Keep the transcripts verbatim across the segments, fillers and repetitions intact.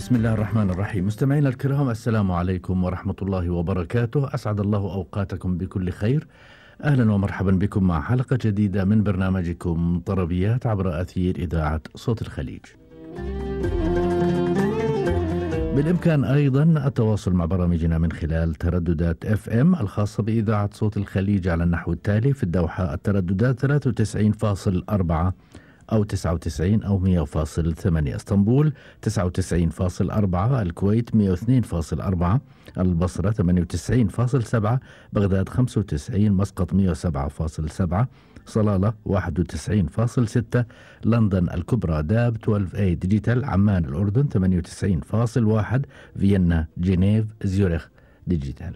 بسم الله الرحمن الرحيم. مستمعينا الكرام، السلام عليكم ورحمة الله وبركاته. أسعد الله أوقاتكم بكل خير. أهلا ومرحبا بكم مع حلقة جديدة من برنامجكم طربيات عبر أثير إذاعة صوت الخليج. بالإمكان أيضا التواصل مع برامجنا من خلال ترددات اف ام الخاصة بإذاعة صوت الخليج على النحو التالي: في الدوحة الترددات ثلاثة وتسعين فاصلة أربعة أو تسعة وتسعين أو مئة فاصلة ثمانية، اسطنبول تسعة وتسعين فاصلة أربعة، الكويت مئة واثنين فاصلة أربعة، البصرة ثمانية وتسعين فاصلة سبعة، بغداد خمسة وتسعين، مسقط مئة وسبعة فاصلة سبعة، صلالة واحد وتسعين فاصلة ستة، لندن الكبرى داب اثنا عشر اي ديجيتال، عمان الأردن ثمانية وتسعين فاصلة واحد، فيينا جنيف زيورخ ديجيتال.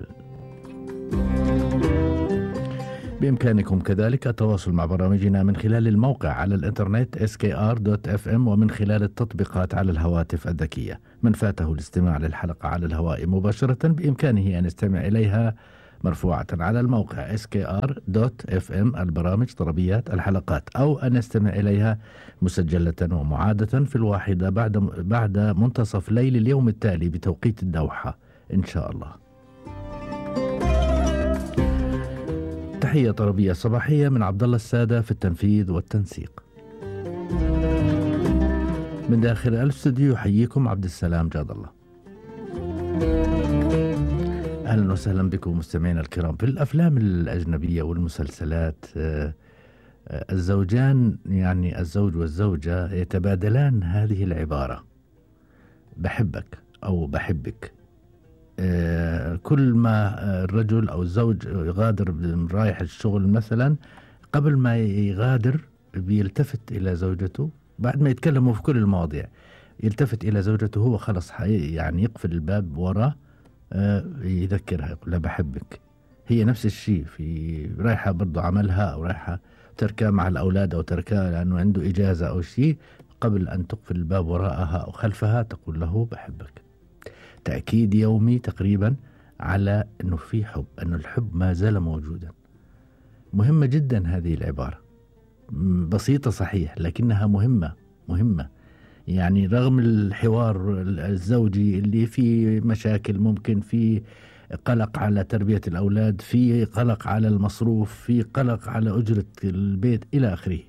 بإمكانكم كذلك التواصل مع برامجنا من خلال الموقع على الإنترنت إس كي آر دوت إف إم ومن خلال التطبيقات على الهواتف الذكية. من فاته الاستماع للحلقة على الهواء مباشرة بإمكانه أن يستمع إليها مرفوعة على الموقع إس كي آر دوت إف إم البرامج طربيات الحلقات، أو أن يستمع إليها مسجلة ومعادة في الواحدة بعد بعد منتصف ليل اليوم التالي بتوقيت الدوحة إن شاء الله. تحية طربية صباحية من عبد الله السادة في التنفيذ والتنسيق. من داخل الاستوديو يحييكم عبد السلام جاد الله. أهلا وسهلا بكم مستمعينا الكرام. في الأفلام الأجنبية والمسلسلات الزوجان، يعني الزوج والزوجة، يتبادلان هذه العبارة: بحبك أو بحبك. كل ما الرجل أو الزوج يغادر رايح الشغل مثلا، قبل ما يغادر بيلتفت إلى زوجته بعد ما يتكلموا في كل المواضيع، يلتفت إلى زوجته هو خلص يعني يقفل الباب وراه، يذكرها يقول لها بحبك. هي نفس الشيء، في رايحة برضو عملها أو رايحة تركها مع الأولاد أو تركها لأنه عنده إجازة أو شيء، قبل أن تقفل الباب وراءها أو خلفها تقول له بحبك. تأكيد يومي تقريبا على أنه في حب، أنه الحب ما زال موجودا. مهمة جدا هذه العبارة، بسيطة صحيح لكنها مهمة مهمة. يعني رغم الحوار الزوجي اللي فيه مشاكل، ممكن في قلق على تربية الأولاد، في قلق على المصروف، في قلق على أجرة البيت إلى آخره،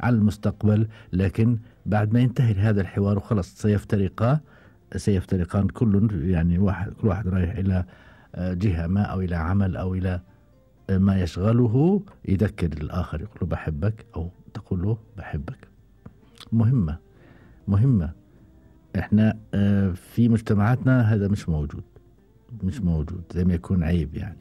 على المستقبل، لكن بعد ما ينتهي هذا الحوار وخلص سيفترقا سيفترقان كل يعني واحد كل واحد رايح إلى جهة ما أو إلى عمل أو إلى ما يشغله، يذكر الآخر يقول له بحبك أو تقول له بحبك. مهمة مهمة. إحنا في مجتمعاتنا هذا مش موجود مش موجود زي ما يكون عيب يعني.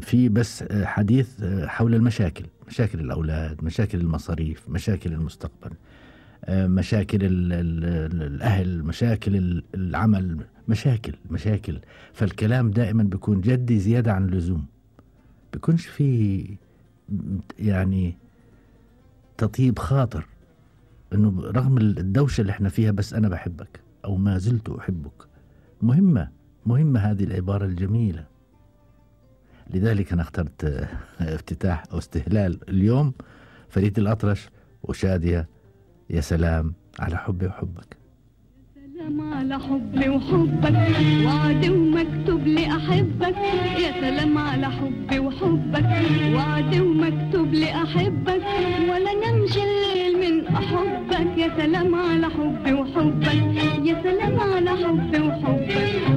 في بس حديث حول المشاكل، مشاكل الأولاد، مشاكل المصاريف، مشاكل المستقبل، مشاكل الأهل، مشاكل العمل، مشاكل مشاكل فالكلام دائما بيكون جدي زيادة عن اللزوم، بيكونش في يعني تطيب خاطر انه رغم الدوشة اللي احنا فيها بس انا بحبك او ما زلت احبك. مهمة مهمة هذه العبارة الجميلة. لذلك انا اخترت افتتاح او استهلال اليوم فريد الأطرش وشادية، يا سلام على حبي وحبك. سلام على حبي وحبك، وعد ومكتوب لي أحبك. يا سلام على حبي وحبك، وعد ومكتوب لي أحبك، ولا نمشي الليل من أحبك. يا سلام على حبي وحبك، يا سلام على حبي وحبك،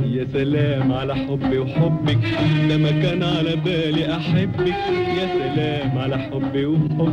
يا سلام على حبي وحبك، ده ما كان على بالي أحبك. يا سلام على حبي وحبك.